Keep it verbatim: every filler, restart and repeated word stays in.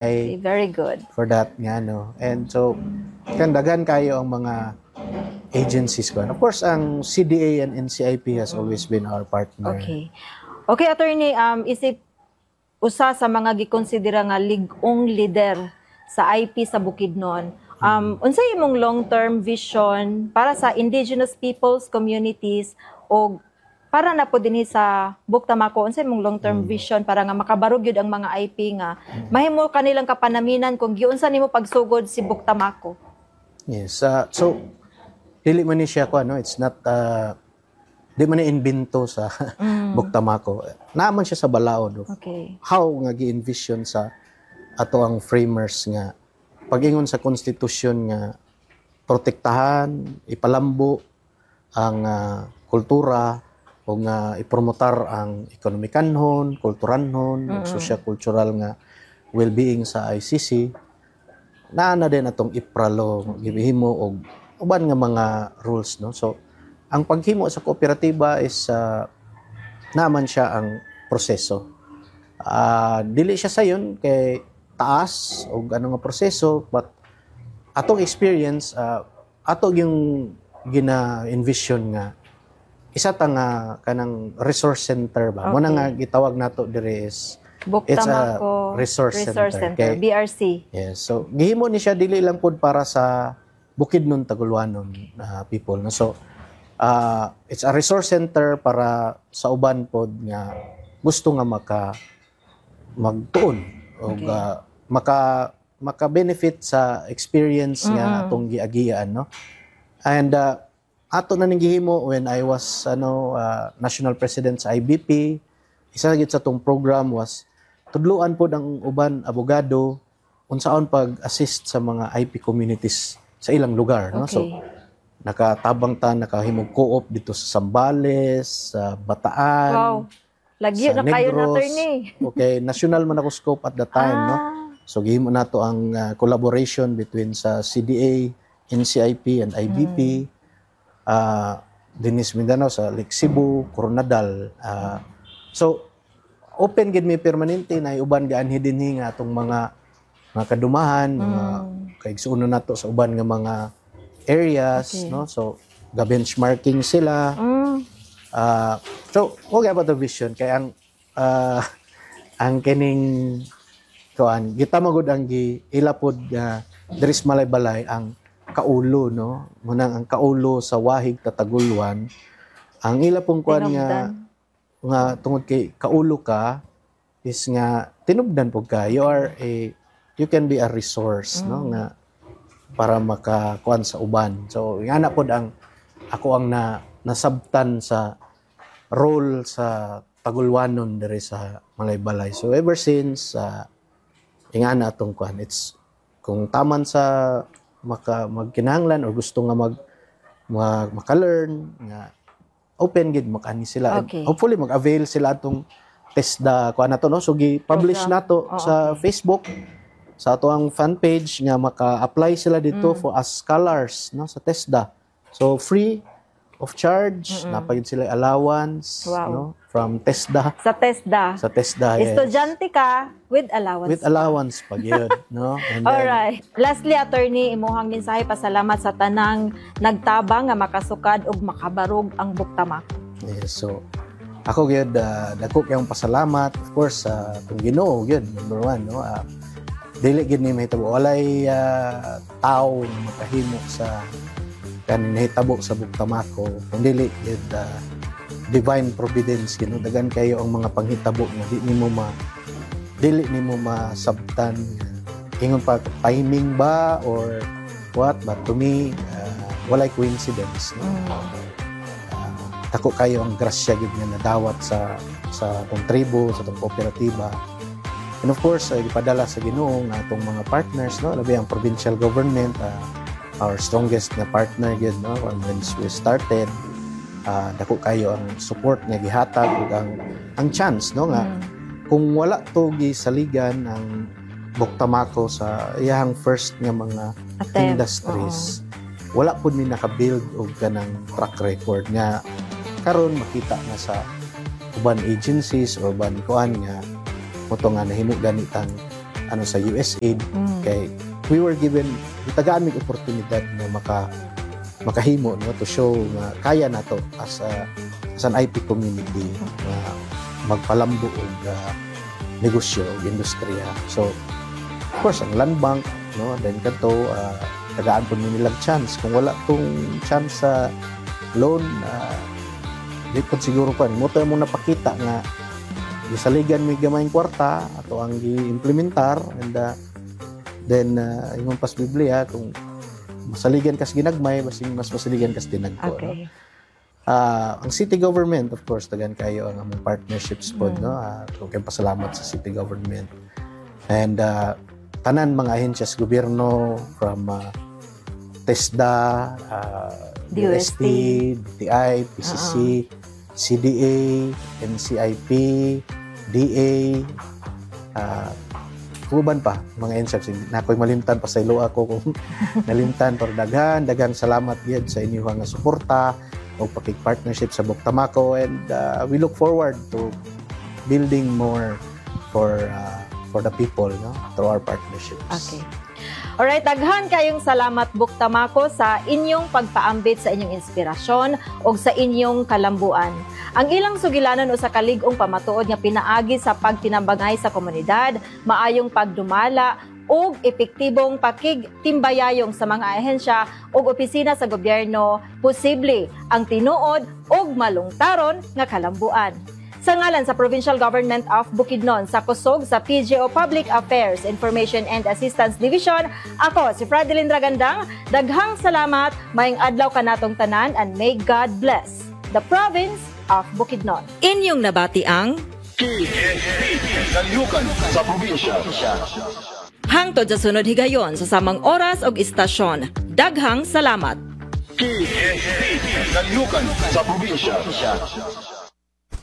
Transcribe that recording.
Okay, very good. For that nga, no. And so kan daghan kayo ang mga agencies ko. And of course, ang C D A and N C I P has always been our partner. Okay. Okay, Attorney, um, isip usa sa mga gikonsidera nga lig-ong leader sa I P sa Bukidnon. Um, unsay imong long-term vision para sa indigenous peoples communities o para na po dinhi sa Buctamako? Unsay imong long-term vision para nga makabarog gyud ang mga I P nga mahimo kanilang kapanaminan kung giunsa nimo pagsugod si Buctamako? Yes. Uh, so dili man ni siya ko ano, it's not uh, di man ni invento sa Buctamako. Naa man siya sa balaod of Okay. how nga gi-envision sa ato ang framers nga pag-ingon sa konstitusyon nga protektahan, ipalambo ang ah, kultura o nga ipromotar ang ekonomikanhon, kulturanhon, mm socio-cultural nga well-being sa I C C. Naa na din atong IPRA law, gihimo og uban nga mga rules, no. So ang paghimo sa kooperatiba is uh, naman siya ang proseso. Ah, dili siya sayon kay taas og ano nga proseso, but atong experience, ah, ato yung gina-envision nga isa ta nga kanang resource center ba. Mo na Okay. nga gitawag nato diri is it's a Buctamako resource Resource center. Center, Kay- B R C. Yes. So gihimo ni siya dili lang pud para sa Bukidnon, Tagolwanon na people, no. So ah, it's a resource center para sa uban pod nga gusto nga maka magtuon o Okay. maka maka-benefit sa experience nga Mm-mm. atong giagian, no. And ah, ato na ning gihimo when I was ano ah, national president sa I B P. Isa gid sa atong program was tudluan pod ang uban abogado unsaon pag-assist sa mga I P communities sa ilang lugar, no. So Okay. nakatabang ta, nakahimog co-op dito sa Zambales, sa Bataan, Wow. Lagyo sa na kayo na, Negros. Attorney. Okay, national man ako scope at the time, no. Ah, So gihimo nato ang uh, collaboration between sa C D A, N C I P and I B P. Uh, dinhi sa Mindanao, sa Lake Cebu, Koronadal. Ah, so open gid mi permanente na uban gaanhi dinhi nga atong mga mga kadumahan, mga mm. kaigsuonon nato sa uban nga mga areas, Okay. no? So ga benchmarking sila. Mm. Ah, so, okay about the vision kay ang ah, ang kining kuan kita magud ang gi ila pod nga diri sa Malaybalay ang kaulo, no, munang ang kaulo sa wahig Tatagulwan ang ila pong kuan nga Tinubdan. Nga tungod kay kaulo ka is nga tinubdan pud ka, you are a you can be a resource, no, nga para makakuan sa uban. So nga na pod ang ako ang na nasabtan sa role sa Tagulwanon diri sa Malaybalay. So ever since, uh, ingana atong kuan, it's kung taman sa maka magkinahanglan or gusto nga mag, mag maka-learn nga open gid makani sila. And Okay. hopefully mag-avail sila atong TESDA kuan nato, no. So gi-publish Program. Nato Oo, sa okay. Facebook sa ato ang fan page nga maka-apply sila dito Mm. for as scholars, no, sa TESDA. So free of charge, Mm-mm. naa pa gyud sila allowance, Wow. no, from TESDA. Sa TESDA. Sa TESDA, yes. Estudyante ka with allowance. With allowance pa gyud, no? And then, Alright. Lastly, Attorney, imuhang mensahe pasalamat sa tanang nagtabang nga makasukad ug makabarog ang Buctamako. Yes, so ako gyud, uh, dako kayong pasalamat of course sa atong Ginoo gyud, number one, no. Uh, dili gyud ni mahitabo, walay uh, tao nga makahimo sa kaning nahitabo sa Buctamako kung dili gyud uh, divine providence gyud, no. Daghan kayo ang mga panghitabo nga di nimo ma dili nimo masabtan nga ingon pa timing ba or what, but to me, uh, walay coincidence, no. Uh, dako kayo ang grasya gid nga nadawat sa sa atong tribo, sa atong kooperatiba. And of course, ay gipadala sa Ginoo nga atong mga partners, no, labi ang provincial government, uh, our strongest nga partner gid, no, when we started. Uh, dako kayo ang support nga gihatag ug ang ang chance, no, nga Mm. kung wala to gisaligan ang Buctamako sa iyahang first nga mga Attempt. industries, wala pud mi naka-build og kanang track record nga karon makita na sa uban agencies or uban kuan nga mao to nga nahimo ganitang ano sa U S A I D Mm. kay we were given, gitagaan mig oportunidad nga maka makahimo, no, to show nga kaya nato as a as an I P community nga magpalambo og uh, negosyo og industriya. So of course ang land bank, no, then kadto uh, tagaan pud mi nilang chance. Kung wala tong chance sa loan, uh, di pud siguro pa mo to mo napakita nga gisaligan mi gamayng kwarta ato ang gi-implementar. And uh, then uh, ingon pas Biblia, kung masaligan kas ginagmay, basing mas masaligan kas dinagko, no? Okay. Ah, ang city government, of course, daghan kayo ang among partnerships pod, Mm. no. Ah, uh, pasalamat sa city government and uh, tanan mga ahensya sa gobyerno from uh, TESDA, uh, D O S T, D O S T, D T I, P C C, C D A, N C I P, D A, uh, uban pa mga ahensya na ako'y malimtan, pasaylo ako kung nalimtan, pero daghan daghan salamat gyud sa inyong nga suporta o pakig-partnership sa Buktamako and uh, we look forward to building more for uh, for the people, no, through our partnerships. Okay. Alright, daghan kayong salamat, Buktamako, sa inyong pagpaambit sa inyong inspirasyon o sa inyong kalambuan. Ang ilang sugilanon usa ka lig-ong pamatuod nga pinaagi sa pagtinabangay sa komunidad, maayong pagdumala ug epektibong pakigtimbayayong sa mga ahensya ug opisina sa gobyerno, posible ang tinuod ug malungtaron nga kalambuan. Sa ngalan sa Provincial Government of Bukidnon, sa kusog sa P G O Public Affairs Information and Assistance Division, ako si Fradeline Ragandang. Daghang salamat, maayong adlaw kanatong tanan and may God bless the province of Bukidnon. Inyong nabati ang Kalihukan sa Probinsya. Hangtod sa sunod higayon sa samang oras og istasyon. Daghang salamat. Kalihukan sa Probinsya.